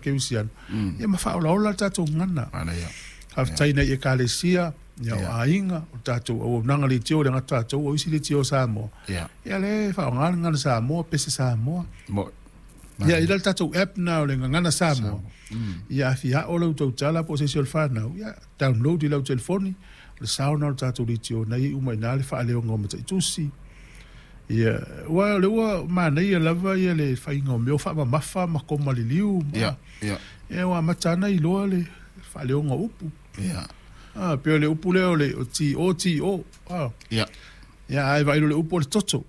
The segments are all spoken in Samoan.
faakerisiano, ia ma faaolaola le tatou gagana. Faafetai nai Ekalesia, ia o aiga, o tatou auaunaga leitio e le gata o tatou, o isi leitio a Samoa, ia lea e faaaoga le gagana Samoa, pese Samoa. Ia, i le tatou app na o le Gagana Samoa, ia a fia ao lau tautala po o se isi o le fanau, ia download i lau telefoni, o le sao na o le tatou leitio na i uma i ina le faaleoga o mataitusi. Ia, aua o lea ua manaia lava ia le faiga o mea o faamamafa ma koma liliu. Ia, ia. Ia, ua amata lava ona iloa le faaleoga o upu. Ia. Ah, pei o le upu lea o le T O T O. Ah. Ia. Ia, a e vaai loa i le upu o le toto.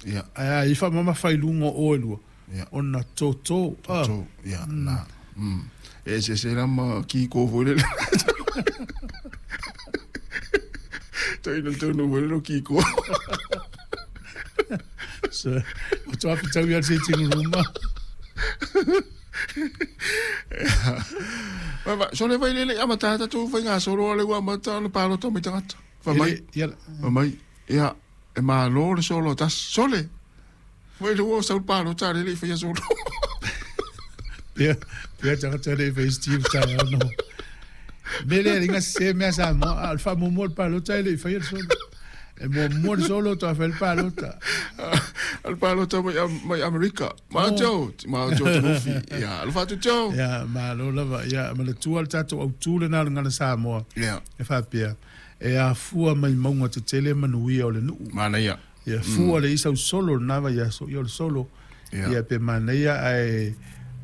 Ia. Ae a i faamamafa i luga o o e lua. Ia. Ona toto. Ah. Toto. Ia, na. E eseese la ma kiko foi lele. Toi na tonu foi lele kiko. So, o toa pitau ia le sitting room. Vai, sole vai lele amata tatou fai ngā solo ale ua amata ona palota mai tagata. Fai mai. Ia. Fai mai. Ia, e malo le solo tas. Sole. Vai le ua sau palota ale le i faia solo. Pea, pea tagata le i fai Steve taeao no. Me le ringa se mea Samoa, a o le faamuamua o le palota e le i faia le solo. E muamua le solo toa fai le palota. O le palota mai, mai Amerika. Ma Joe, ma Joe Tanufi. Ia, alofa atu Joe. Ia, malo lava. Ia, manatua le tatou autu lena o le Gagana Samoa. Ia. E faapea, e afua mai mauga tetele manuia o le nuu. Manaia. Ia, fua le isa solo lena vaiaso, ia o le solo. Ia, pe manaia ae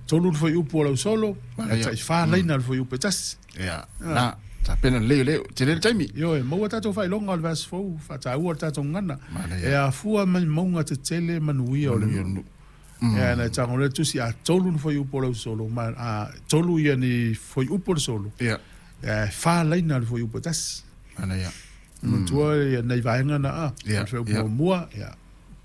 tolu le fuaiupu o lau solo, ae tai-fa laina le fuaiupu e tasi. Ia, na, tapena lelei o lea, tele le taimi. Ioe, maua tatou faailoga o le vaiaso fou, faataua le tatou gagana. Manaia. E afua mai mauga tetele manuia o le nuu. Ia, na e tago lea le tusi, a tolu le fuaiupu o lau solo, ma a tolu ia ni fuaiupu o le solo. Ia. Ia, e fa laina le fuaiupu e tasi. Manaia. Manatua ia nai vaega na a, Ia, o le fuaiupu ia. muamua, ia,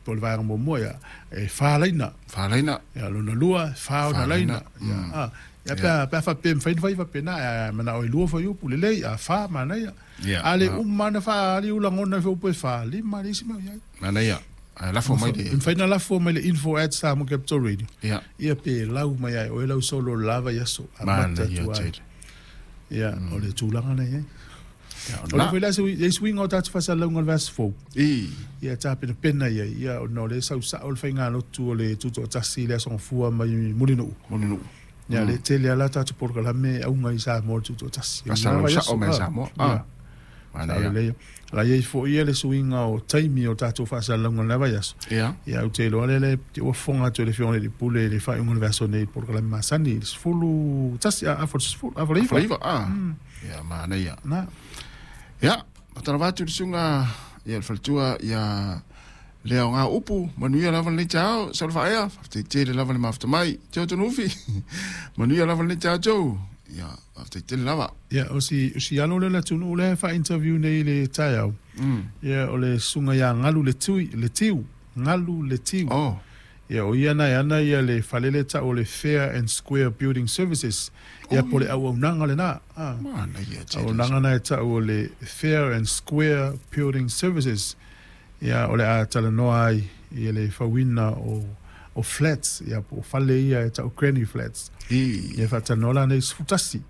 po o le vaega muamua, ia, e fa laina. Fa laina. Ia, lona lua, fa ona Fa laina. laina. Ia, a, ia, pe a, pe a faapea e mafai ona fai faapena, ae manao e lua fuaiupu, lelei, a fa, manaia. Ia, A le na. uma na faaali ou lagona i fuaiupu e fa, lima le isi mea o i ai. Manaia. Ae lafo mai le. E mafai ona lafo mai le info@samoacapitalradio. Ia. Ia pe lau mai ai oe lau solo le la vaiaso. Amata Manaia atu ai. tele. Ia, o le tulaga na i ai. Ia, O le na. foi la se i suiga o tatou faasalalauga o le vaiaso fou. I. Ia tapenapena i ai, ia ona o lea e sau sao le faigalotu o le tutoatasi i le Aso Gafua mai Mulinuu. Mulinuu. Ia, le tele lava la tatou polokalame e auga i Samoa le tutoatasi. Faasalalau sao mai Samoa. Ia. Ah. Manaia. Sao lelei. La i ai foi ia le suiga o taimi o tatou faasalalauga i lena vaiaso. Ia. Ia, ou te iloa lea le ua fofoga atu e le Afioga i le Alii Pule i le faaiuga o le vaiaso nei i le polokalame masani i le 11, a, afa i le 10, afa i le iva. Afa i le iva, ah. Ia, manaia. Na. Ia, faatalofa atu i le susuga ia le faletua ia lea o ngā upu, manuia lava lenei taeao, sau le faaea, faafetai tele lava le mafuta mai. Teo Tonufi, manuia lava lenei taeao Joe. Ia, faafetai tele lava. Ia, o si, o si alo lea o le atunuu lea e faa-interview nei i le taeao, ia, o le susuga ia Galu Le Tui, Le Tiu, Galu Le Tiu. Oh. Ia, o ia na e ana ia le fale lea e tau o le Fair and Square Building Services. Ia, po o le auaunaga lena. Ah. Manaia tele. Auaunaga na e tau o le Fair and Square Building Services. Ia, o le a talanoa ai i le fauina o flats, ia, po o fale ia e tau granny flats. I. Ia, faatalanoa la nei 11.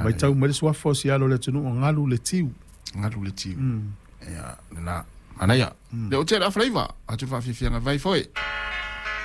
Matau mai le suafa o si alo o le atunuu o Galu Le Tiu. Galu Le Tiu. Ia, lena. Manaia. Le o tele afalaiva, atu le faafiafiaga vai foi.